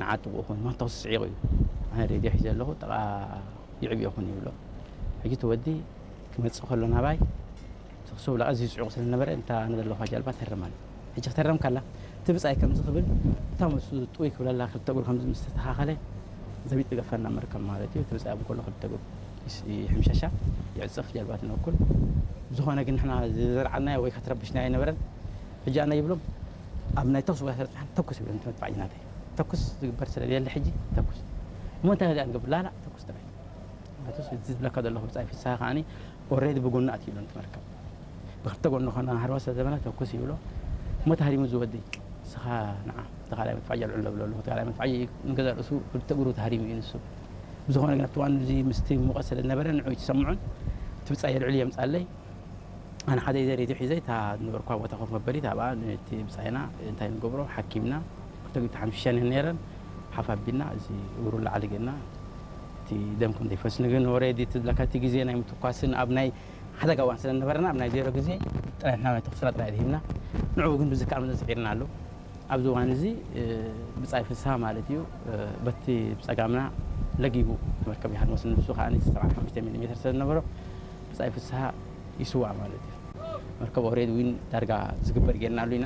ንዓጥቑ ኹን ማንታው ስዒቑ እዩ። ኣነ ሬድዮ ሒዘ ኣለኹ፣ ጥቓ ይዕብዮ ኹን ይብሎ። ሕጂ እቲ ወዲ ክመጽእ ከሎ ናባይ፣ ተኽሲ ብላ ኣዝዩ ጽዑቕ ስለ ዝነበረ፣ እንታ ኣነ ዘለኹ ጃልባ ተርም ኣለ። ሕጂ ክተርም ከላ፣ እቲ ብጻይ ከምዚ ክብል፣ እታ ምስኡ ጥውይ ክብለላ ክልተ እግሩ ከምዚ ምስ ተስተኻኸለ፣ ዘቢጥ ገፈና መርከብ ማለት እዩ። እቲ ብጻይ ኣብኡ ከሎ ክልተ እግሩ ይስ-፣ ይሕምሸሻ፣ ይዕጽፍ፣ ጃልባ ትነኩል። ዝኾነ ግን ንሕና ዝዘርዓናዮ ወይ ከተረብሽናዮ ኣይነበረን። ሕጂ ኣነ ይብሎም፣ ኣብ ናይ ተኹሲ ቦታ ስለ ዝጸናሕና፣ ተኩስ ይብሎም፣ እቲ መድፋዕጂ ናተይ። ተኩስ ዝግበር ስለ ዘየለ ሕጂ፣ ተኩስ። እሞ እንታይ ደኣ ንገብር? ላላ ተኩስ ጥራይ። ምክንያቱ እዚ ዝብለካ ዘለኹ ብጻይ ፍስሃ ከዓኒ ኦሬዲ ብጎኒ ኣትዩ ኣሎ፣ እቲ መርከብ። ብክልተ ጎኒ ኾና ሃርባ ስለ ዘበላ ተኩስ ይብሎ። እሞ ተሃሪሙ ዝወዲ፣ ንስኻ ንዓ፣ እቲ ካልኣይ መድፋዕጂ ኣልዕሎ ብሎ ኣለኹ። እቲ ካልኣይ መድፋዕጂ ንገዛእ ርእሱ ክልተ እግሩ ተሃሪሙ እዩ ንሱ። ብዝኾነ ግን ኣብቲ እዋን እዚ ምስቲ ሙቐት ስለ ዝነበረ ንዑ ኣይትሰምዑን። እቲ ብጻይ የልዕሉ የምጻለይ። ኣነ ሓደ ኢዘ ሬድዮ ሒዘ እታ ዝነበርኳ ቦታ ኮፍ መበሊት ኣብኣ ነቲ ብጻይና እንታይ ንገብሮ ሓኪምና ክልተ ግዜ ሓምሽሻ ነይረን ሓፍ ኣቢልና እዚ እግሩ ላዕሊ ጌርና እቲ ደም ከም ዘይፈስ ግን ኦሬዲ እቲ ዝብለካ እቲ ግዜ ናይ ምትኳስን ኣብ ናይ ሓደጋ እዋን ስለ ዝነበረና ኣብ ናይ ዜሮ ግዜ ጥራይ ንሕና ናይ ተኹስና ጥራይ ድሂብና ንዕኡ ግን ብዝከኣል መጠን ስዒርና ኣሎ። ኣብዚ እዋን እዚ ብጻይ ፍስሃ ማለት እዩ በቲ ብጸጋምና ለጊቡ መርከብ ይሃድሞ ንሱ ከኣ ሰብዓን ሓሙሽተ ሚሊ ሜትር ስለ ዝነበሮ ብጻይ ፍስሃ ይስዋእ ማለት እዩ። መርከብ ኦሬዲ ዊን ዳርጋ ዝግበር ጌርናሉ ኢና።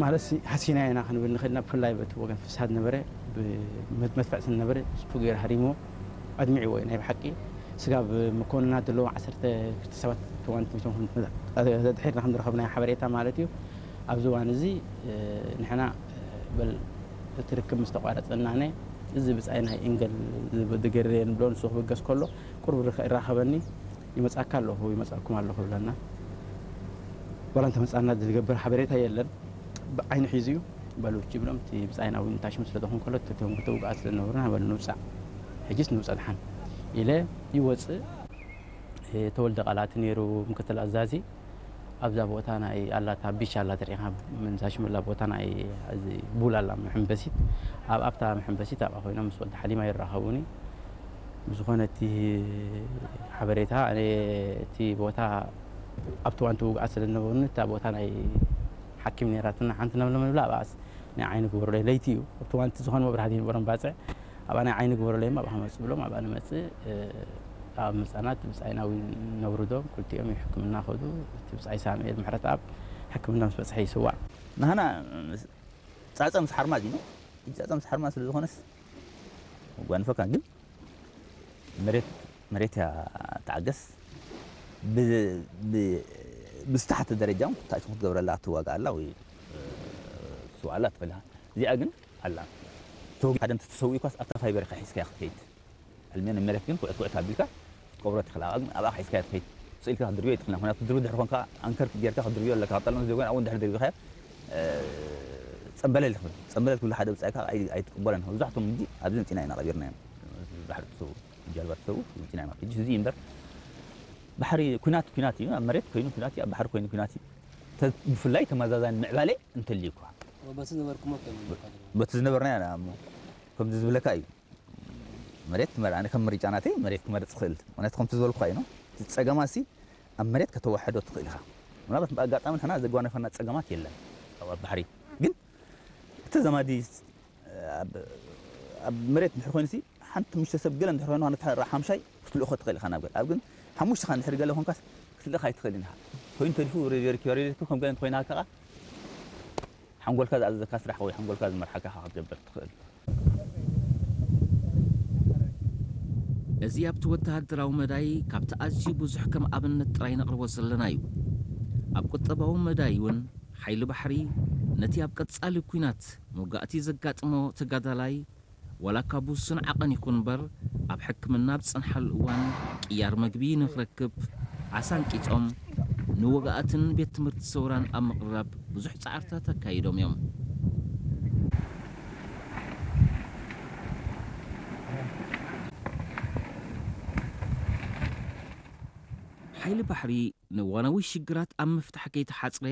ማለት ሲ ሃሲና ኢና ክንብል ንኽእል ኢና። ብፍላይ በቲ ወገን ፍስሃ ዝነበረ ብመድፍዕ ስለ ዝነበረ ስፑ ገይሩ ሃሪምዎ ኣድሚዕዎ እዩ። ናይ ብሓቂ ስጋብ መኮንናት ዘለዎም ዓሰርተ ክልተ ሰባት ተዋንቲ ሚቶም ድሒርና ከም ዝረኸብናዮ ሓበሬታ ማለት እዩ። ኣብዚ እዋን እዚ ንሕና በል እቲ ርክብ ምስ ተቋረጸና ነ እዚ ብጻይ ናይ ኢንገል ዝገርየ ንብሎ ንሱ ክብገስ ከሎ ቁርብ ርኸ- ይራኸበኒ ይመጻካ ኣለኹ ይመጻኩም ኣለኹ ይብለና። ዋላ እንተመጻና ዝገብር ሓበሬታ የለን። ብዓይኒ ሒዙ እዩ በሉ እቺ ብሎም እቲ ብጻይና እውን ታሽሙ ስለ ዝኾን ከሎ እቶም ክልተ ውግኣት ስለ ዝነበሩና በሉ ንውጻእ ሕጂስ ንውጻእ ድሓን ኢለ ይወጽእ። ተወልደ ቃላት ነይሩ ምክትል ኣዛዚ ኣብዛ ቦታ ናይ ኣላታ ቢች ኣላ ትሪኢኻ ምንዛ ሽምላ ቦታ ናይ እዚ ቡል ኣላ መሐንበሲት ኣብ ኣብታ መሐንበሲት ኣብኣ ኮይኖም ምስ ወዲ ሓሊማ ይራኸቡኒ። ብዝኾነ እቲ ሓበሬታ ኣነ እቲ ቦታ ኣብቲ እዋን እቲ ውግኣት ስለ ዝነበሩኒ እታ ቦታ ናይ ሓኪም ነይራትና ሓንቲ ነብለመ ንብላ ኣብኣስ ናይ ዓይኒ ግበሩለይ ለይቲ እዩ ኣብቲ እዋን እቲ ዝኾነ መብራህቲ ይነበሮም ባፅዕ ኣብኣ ናይ ዓይኒ ግበሩለይ እማ ኣብኣ ክመፅእ ብሎም ኣብኣ ንመፅእ ኣብ ምፃናት ብፃይናዊ ነውርዶም ክልቲኦም ሕክምና ከዱ እቲ ብፃይ ሳምኤል ምሕረት ኣብ ሕክምና ምስ በፅሐ ይስዋዕ ናህና ጻጸ ምስ ሓርማዝ እዩ። ጻጸ ምስ ሓርማዝ ስለ ዝኾነስ ጓንፈካ ግን መሬት መሬት እያ ተዓገስ ብዝተሓተ ደረጃ እውን ታእቲ ክትገብረላ ትዋጋ ኣላ ወይ ትስዋላ ትኽእል እዚኣ ግን ኣላ ተወጊ ሓደ እንተተሰዊእኳስ ኣብታ ፋይበር ኢኻ ሒዝካያ ክትከይድ ኣልሜን መሬት ግን ኩዕት ኩዕት ኣቢልካ ክትቀብሮ ትኽእል ኣብኣ ግን ኣብኣ ሒዝካያ ትኸይድ ስኢልካ ክትድርብዮ ይትኽእል ምክንያቱ ክትድርቢ ድሕር ኮንካ ኣንከር ጌርካ ክትድርብዮ ኣለካ ካብ ጠለመ ዘይኮነ ኣብኡ እንድሕር ድርቢኻዮ ጸምበለል ይኽብል ጸምበለል ክብሉ ሓደ ብጻይካ ኣይትቅበለን መብዛሕቶም እንጂ ኣብዚ መጺና ኢና ቀቢርናዮም ባሕሪ ትሰው ጃልባ ትሰው መጺና ኢና ሕጂ እዚ እምበር ባሕሪ ኩናት ኩናት እዩ ኣብ መሬት ኮይኑ ኩናት እዩ ኣብ ባሕሪ ኮይኑ ኩናት እዩ ብፍላይ ተመዛዛኒ ምዕባለ እንተልዩ እኳ በቲ ዝነበርኩሞ በቲ ዝነበርና ኢና እሞ ከምዚ ዝብለካ እዩ መሬት ትመርኣኒ ከም ምርጫ ናተይ መሬት ክመርጽ ክእል ምክንያቱ ከምቲ ዝበልኩካ እዩ እቲ ጸገማ ሲ ኣብ መሬት ከተወሐዶ ትኽእል ኢኻ ምናልባት ብኣጋጣሚ ንሕና ዘጓነፈና ጸገማት የለን ኣብ ባሕሪ ግን እቲ ዘማዲ ኣብ መሬት እንድሕር ኮይኑ ሲ ሓንቲ ምሽተ ሰብ ገለ እንድሕር ኮይኑ ነታ ሓምሻይ ክትልእኾ ትኽእል ኢኻ ናብ ገለ ኣብ ግን ሓሙሽተ ኻ እንድሕር ገለ ኮንካስ ክትልእኻ ኣይትኽእልን ኢኻ ኮይኑ ተሪፉ ሬድዮ ሪኪ ሬድዮ ከም ገለ እንተኮይና ከኣ ሓንጎልካ ዝኣዘዘካ ስራሕ ወይ ሓንጎልካ ዝመርሓካ ኢኻ ክትገብር ትኽእል እዚ ኣብቲ ወተሃደራዊ መዳይ ካብቲ ኣዝዩ ብዙሕ ከም ኣብነት ጥራይ ነቕርቦ ዘለና'ዩ። ኣብ ቁጠባዊ መዳይ'ውን ሓይሊ ባሕሪ ነቲ ኣብ ቀጻሊ ኲናት መውጋእቲ ዘጋጥሞ ተጋዳላይ ዋላ'ኳ ብውሱን ዓቐን ይኹን እምበር ኣብ ሕክምና ኣብ ዝጸንሓሉ እዋን ቅያር መግቢ ንኽረክብ ዓሳ ኣንቂጾም ንወግኣትን ቤት ትምህርቲ ሰውራን ኣብ ምቕራብ ብዙሕ ጻዕርታት ኣካይዶም እዮም። ሓይሊ ባሕሪ ንእዋናዊ ሽግራት ኣብ ምፍታሕ ከይተሓጽረ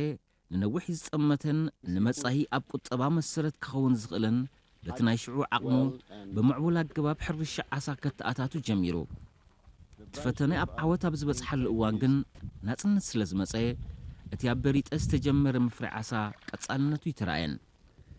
ንነዊሕ ዝጸመተን ንመጻኢ ኣብ ቁጠባ መሰረት ክኸውን ዝኽእልን በቲ ናይ ሽዑ ዓቕሙ ብምዕቡል ኣገባብ ሕርሻ ዓሳ ከተኣታቱ ጀሚሩ። እቲ ፈተነ ኣብ ዓወት ኣብ ዝበጽሓሉ እዋን ግን ናጽነት ስለ ዝመጸ እቲ ኣብ በሪጠ ዝተጀመረ ምፍራይ ዓሳ ቀጻልነቱ ኣይተራእየን።